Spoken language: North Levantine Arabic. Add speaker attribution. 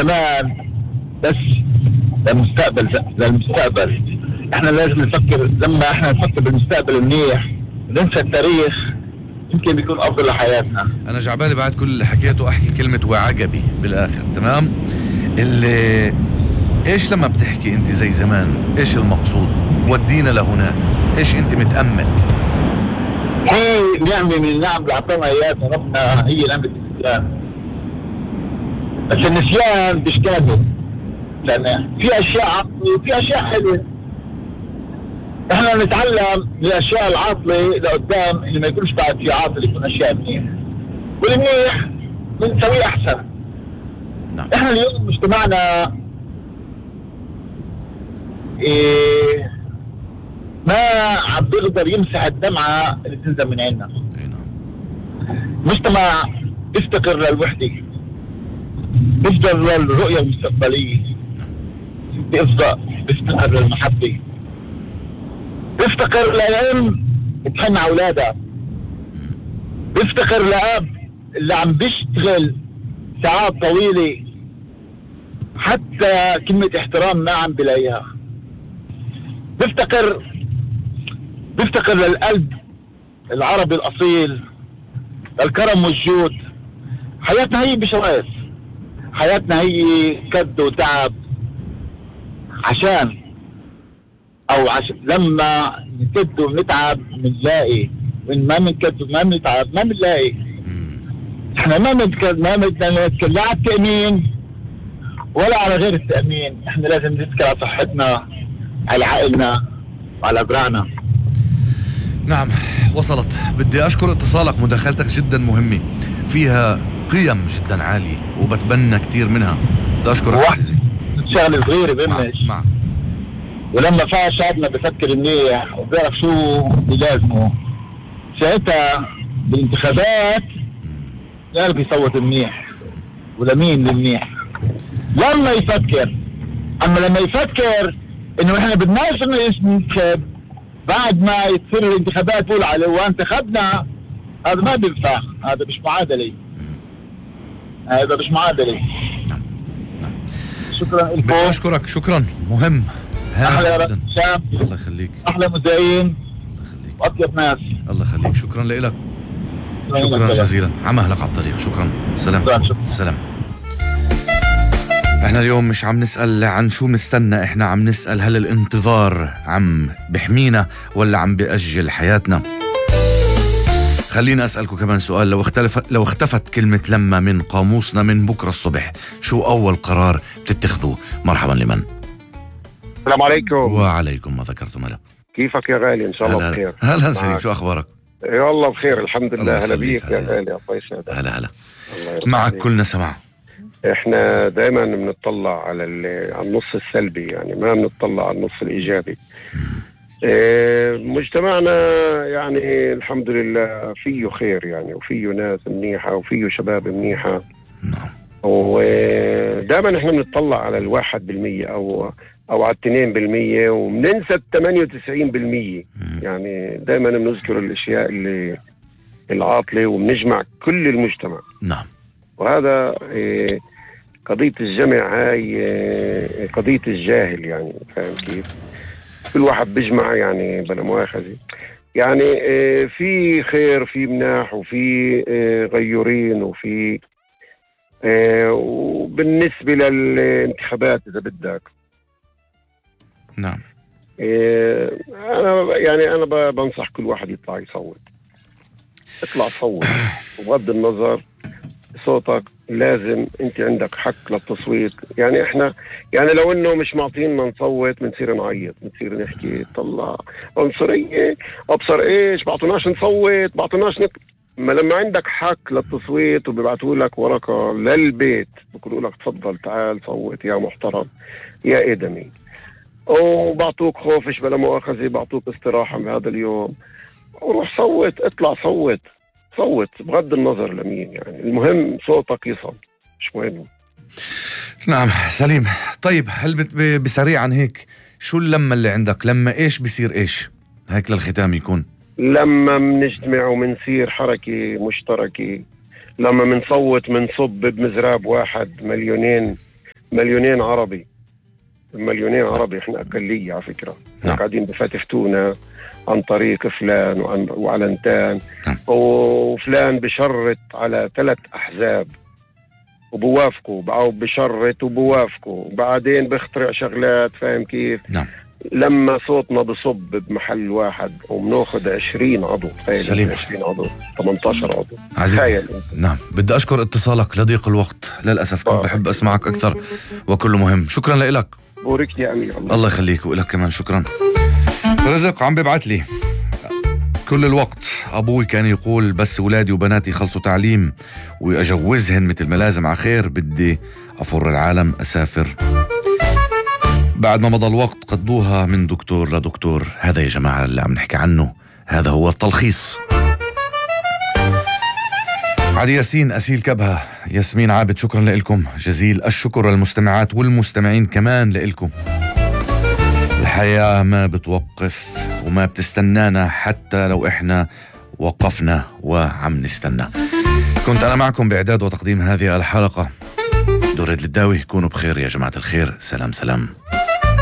Speaker 1: زمان بس للمستقبل. احنا لازم نفكر، لما احنا نفكر بالمستقبل منيح ننسى التاريخ يمكن بيكون افضل لحياتنا.
Speaker 2: انا جعبالي بعد كل اللي حكيته احكي كلمة وعجبي بالاخر. تمام. اللي ايش لما بتحكي انت زي زمان ايش المقصود؟ ودينا لهناك، ايش انت متأمل؟
Speaker 1: هي نعمة من النعم اللي اعطانا اياها ربنا، هي نعمة النسيان. بس النسيان مش كامل، لان في اشياء عاطلة وفي اشياء حلوة. احنا نتعلم من الاشياء العاطلة لقدام، اللي ما يكونش بعد في عاطل يكون اشياء منيح، والمنيح بنسويه احسن.
Speaker 2: نعم.
Speaker 1: احنا اليوم مجتمعنا ما عم بيقدر يمسح الدمعة اللي بتنزل من عيننا. مجتمع بيفتقر للوحدة، بيفتقر للرؤية المستقبلية، بيفتقر للمحبة، بيفتقر لأم تحن على أولادها، بيفتقر لأب اللي عم بيشتغل ساعات طويلة حتى كلمة احترام ما عم بلاقيها. بيفتقر للقلب العربي الأصيل، للكرم والجود. حياتنا هي بشوايف، حياتنا هي كد وتعب لما نكد ونتعب منلاقي، من ما منكد وما منتعب ما منلاقي. احنا ما بنتكلم لا على التأمين ولا على غير التأمين. احنا لازم نتكلم على صحتنا، على عائلنا وعلى أبرعنا.
Speaker 2: نعم وصلت. بدي أشكر اتصالك، مداخلتك جدا مهمة فيها قيم جدا عالية وبتبنى كتير منها. بدي أشكرك عزيزي.
Speaker 1: شغلة صغيرة بمش
Speaker 2: معك.
Speaker 1: ولما فيها شعبنا بفكر منيح وبيعرف شو بلازمه، ساعتها بالانتخابات يعرف يصوت منيح ولمين المنيح لما يفكر. اما لما يفكر انه احنا بدناش ننتخب بعد ما يصير الانتخابات تقول عليه وانتخبنا، هذا ما بينفع، هذا مش معادلة، هذا مش معادلة. شكرا لكم.
Speaker 2: أشكرك، شكرا، مهم.
Speaker 1: أحلى رب شام.
Speaker 2: الله يخليك.
Speaker 1: أحلى مذيعين.
Speaker 2: الله يخليك.
Speaker 1: وأطيب ناس.
Speaker 2: الله يخليك. شكرا لك. شكرا جزيلا عمهلك على الطريق. شكرا. سلام. سلام. احنا اليوم مش عم نسأل عن شو مستنى، احنا عم نسأل هل الانتظار عم بحمينا ولا عم بيأجل حياتنا. خلينا أسألكم كمان سؤال. لو اختفت كلمة لما من قاموسنا من بكرة الصبح، شو أول قرار بتتخذوه؟ مرحبا لمن؟
Speaker 3: السلام عليكم.
Speaker 2: وعليكم ما ذكرتم. هلا،
Speaker 3: كيفك يا غالي؟ إن شاء الله بخير.
Speaker 2: هلا سليم، شو أخبارك؟
Speaker 3: يا الله بخير الحمد لله. هلا بيك يا غالي. الله يسعدك.
Speaker 2: هلا معك كلنا سمع.
Speaker 3: احنا دائما بنطلع على النص السلبي، يعني ما بنطلع على النص الإيجابي. مجتمعنا يعني الحمد لله فيه خير يعني، وفيه ناس منيحة وفيه شباب منيحة.
Speaker 2: نعم.
Speaker 3: ودائما احنا بنطلع على 1% أو على 2%، وبننسى 98%. يعني دائما بنذكر الأشياء اللي العاطلة وبنجمع كل المجتمع.
Speaker 2: نعم.
Speaker 3: وهذا قضية الجمع هاي قضية الجاهل، يعني فاهم كيف؟ كل واحد بيجمع يعني بلا مؤاخذة، يعني في خير، في مناح، وفي غيورين، وفي وبالنسبة للانتخابات إذا بدك.
Speaker 2: نعم.
Speaker 3: أنا بنصح كل واحد يطلع يصوت. اطلع صوت، وبغض النظر صوتك لازم انت عندك حق للتصويت. يعني احنا يعني لو انه مش معطينا نصوت بنصير نعيط، بنصير نحكي طلع عنصرية، ابصر ايش، بعطوناش نصوت، بعطوناش ما لما عندك حق للتصويت وبيبعتوا لك ورقة للبيت بيقولوا لك تفضل تعال صوت يا محترم يا ادمي، وبعطوك خوفش بلا مؤاخذة، بعطوك استراحة بهذا اليوم، وروح صوت، اطلع صوت بغض النظر لمين، يعني المهم صوتك يصل، مش مهم.
Speaker 2: نعم سليم. طيب هل بسريعا هيك شو اللمة اللي عندك؟ لما ايش بيصير ايش هيك للختام يكون؟
Speaker 3: لما منجتمع ومنصير حركة مشتركة، لما منصوت منصب بمزراب واحد 2 مليونين عربي، مليونين عربي، احنا اقليه على فكره.
Speaker 2: نعم.
Speaker 3: قاعدين بفتفتونا عن طريق فلان وعلنتان، وفلان بشرط على 3 أحزاب وبوافقوا، أو بشرط وبوافقوا، وبعدين بيخترع شغلات. فاهم كيف؟
Speaker 2: نعم.
Speaker 3: لما صوتنا بصب بمحل واحد وبناخذ 20 عضو.
Speaker 2: سليم.
Speaker 3: 20 عضو، 18 عضو.
Speaker 2: عزيزي، نعم، بدي أشكر اتصالك لضيق الوقت، للأسف كنت بحب أسمعك أكثر وكله مهم. شكرا لك.
Speaker 3: بورك يا أمير.
Speaker 2: الله يخليك، وإلك كمان شكرا. رزق عم ببعت لي كل الوقت: أبوي كان يقول بس أولادي وبناتي خلصوا تعليم وأجوزهن مثل ما لازم على خير، بدي أفر العالم، أسافر. بعد ما مضى الوقت قضوها من دكتور لدكتور. هذا يا جماعة اللي عم نحكي عنه، هذا هو التلخيص. علي ياسين، أسيل كبهة، ياسمين عابد، شكرا لكم جزيل الشكر للمستمعات والمستمعين كمان لكم. الحياة ما بتوقف وما بتستنانا حتى لو إحنا وقفنا وعم نستنى. كنت أنا معكم بإعداد وتقديم هذه الحلقة دريد للداوي. كونوا بخير يا جماعة الخير. سلام سلام.